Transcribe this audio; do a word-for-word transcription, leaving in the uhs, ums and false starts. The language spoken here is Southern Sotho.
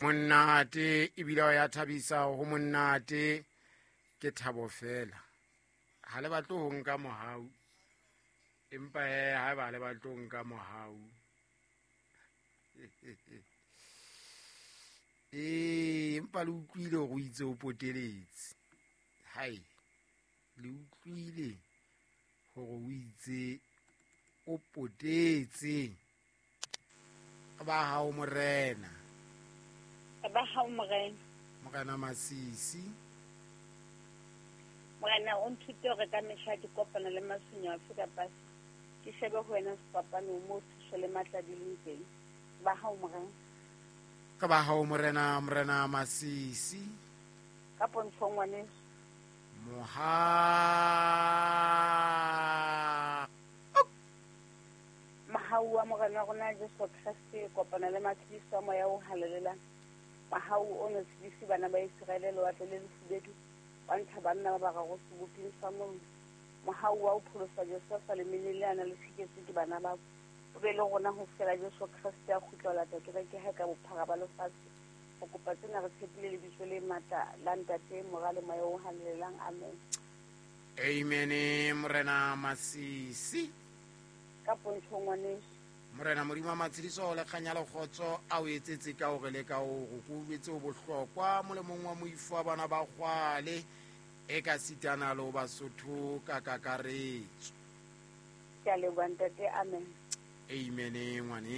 Monate ebile o ya thabisa ho monate ke thabo fela. Ha le batle ho nka mohau, empa he ha ba le batle ho nka mohau. Eh, empa le utlwile hore o itse o poteletse. Hai, le utlwile hore o itse o potetse. Ba hao morena. Ba hao morena. Morena Masisi. Morena o nthute hore ka mehla ke kopana le matshwenyeho afe kapa afe. Ke shebe ho wena sefapanong moo thuso le matla di leng teng. Ba hao morena. Ka ba hao morena, morena Masisi. Ka pontsho ngwaneso. Moha. Mohau wa morena wa rona Jesu Kreste kopana le matshediso a moya o halalelang. Mohau o no tshedise bana ba Iseraele lewatle le lefubedu, wa ntsha banna ba bararo seboping sa mollo. Mohau wa ho pholosa Josefa le mene le ana le tsheketswe ke bana babo. O be le rona ho fihlela Jesu Kreste a kgutla ho lata kereke hae ka bophara ba lefatshe. Ho kopa tsena re tshepile lebitso le matla la Ntate, Mora le Moya o Halalelang. Amen. Amen. Morena Masisi. Ka pontsho ngwaneso. Morena Modimo wa matshediso le kganya le kgotso a o etsetse ka hore le ka hore ko jwetse o bohlokwa molemong wa moifo wa bana ba kgwale e ka sitana le ho Basotho ka kakaretso. Ke a leboha ntate. Amen. Amen ngwane.